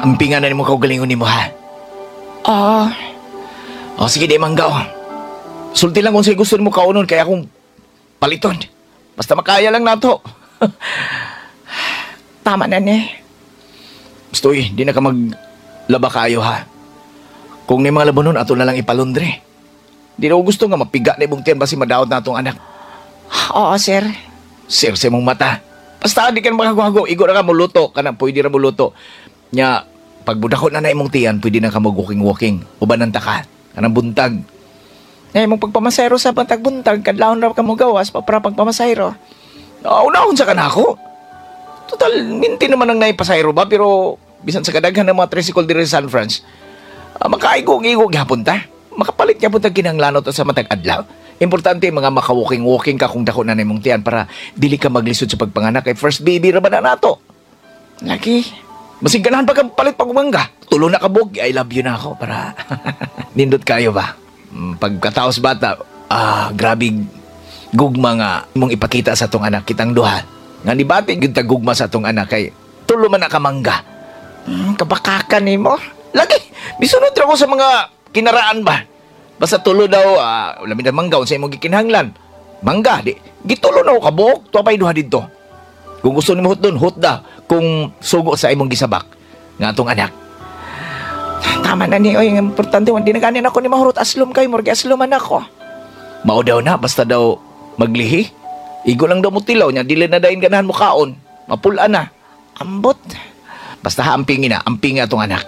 Ampingan na nimo kaugalingon nimo, ha. Oo. O sige, di manggaw. Sulti lang kung sa'yo gusto nimo kaunon kaya akong paliton. Basta makaya lang nato. Tama na ni. Gusto eh, di na ka maglaba kayo, ha. Kung ni mga labanon, ato na lang ipalundre. Di na ko gusto nga mapiga na ibong tiyan basi madaot na atong anak. Oo, sir. Sir, sa imong mata. Basta di ka na makagago. Igo na ka muluto. Kanang pwede ra muluto. Nya, pag budako na na imong tiyan, pwede na ka mag-walking-walking. Uban ang taka. Kanang buntag. Ngay mong pagpamasayro sa bantag-buntag, kadlawon ra ka mo gawas pa para pagpamasayro. Unahon sa kanako. Total, minti naman ang naipasayro ba, pero bisan sa kadaghan ng mga tricycle diri sa San Franz, makaigog-igog gyapon ta. Makapalit gyapon ta kinahanglan ta sa matag adlaw. Importante mga maka-walking-walking ka kung dako na nimong tiyan para dili ka maglisod sa pagpanganak kay first baby ra ba na nato. Lagi. Masig ganahan pa ka palit pag umangga. Tulo na ka buok, I love you na ako para nindot kayo ba. Pagkataos bata, grabe gugma nga mong ipakita sa atong anak kitang duha. Nga nibati gyud ta gugma sa atong anak kay tulo man na ka mangga. Kabakakan nimo. Lagi, misunod ra ko sa mga kinaraan ba. Basta tulo daw, labi na mangga unsa imong gikinahanglan. Mangga di gitulo na ko kabuok, tuwa pa'y duha didto. Kung gusto nimo hutdon, hutda. Kung sugo sa imong gisabak nga atong anak. Tama na ni oy, ang importante di na ganin ako ni mahurot aslom kay murag asloman ako. Mao daw na, basta daw maglihi. Igo lang daw mo tilaw niya, dili na dayon ganahan mo kaon. Mapula na. Ambot. Basta ha, ampingin na, ampingin atong anak.